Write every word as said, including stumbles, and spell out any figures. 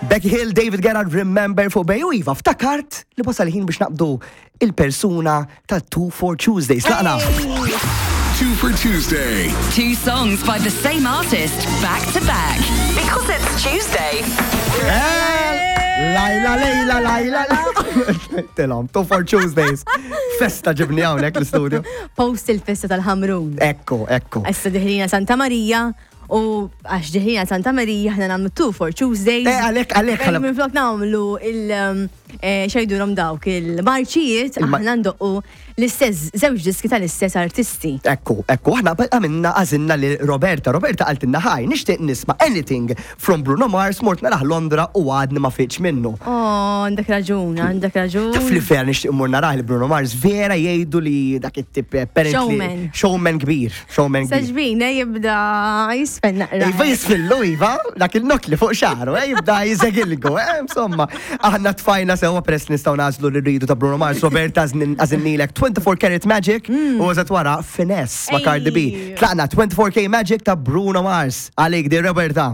Becky Hill, David Gerrard, Remember fuq Bay u Iva, ftakart li wasal ħin biex naqbdu il-persuna ta' two for Tuesdays. Tlaqna. Two for Tuesday. Two songs by the same artist back to back. Because it's Tuesday. Lajla, lejla, lajla, la. Telom, two for Tuesdays. Festa ġibni hawnhekk l-studio. Post il-festa tal-Ħamrun. Ekku, ekku. Issa deħlina Santa Marija u għax deħlina Santa Marija ħna nagħmlu two for Tuesdays. Eh, għalek, għalek, Fejn Minflok nagħmlu il- um, eh, xejdulhom dawk il-marċijiet, Il-ma- aħna ndoqqu l-istess żewġ diski tal-istess artisti. Ekku, ekku, aħna għamilna għażilna li Roberta. Roberta qaltilna hi, nixtieq nisma' anything from Bruno Mars, mort narah Londra u għadni ma fiqtx minnu. Oh, għandek raġun, għandek raġun. Taf li vera nixtieq mur narah li Bruno Mars, vera jgħidu li dak it-tip apparently Showman. Showman kbir, showman kbir. Saġbina jibda jisfen naqra. Iva jisfillu, Iva, dak il-nok li fuq xaru, eh, jibda jizegilgu, eh, insomma. Aħna tfajna sewa press nistgħu nagħżlu li rridu ta' Bruno Mars, Roberta għażilnielek twenty-four Karat Magic u għazat wara Finesse ma' Cardi B. Ej. Tlaqna twenty-four K Magic ta' Bruno Mars. Għalik di Roberta.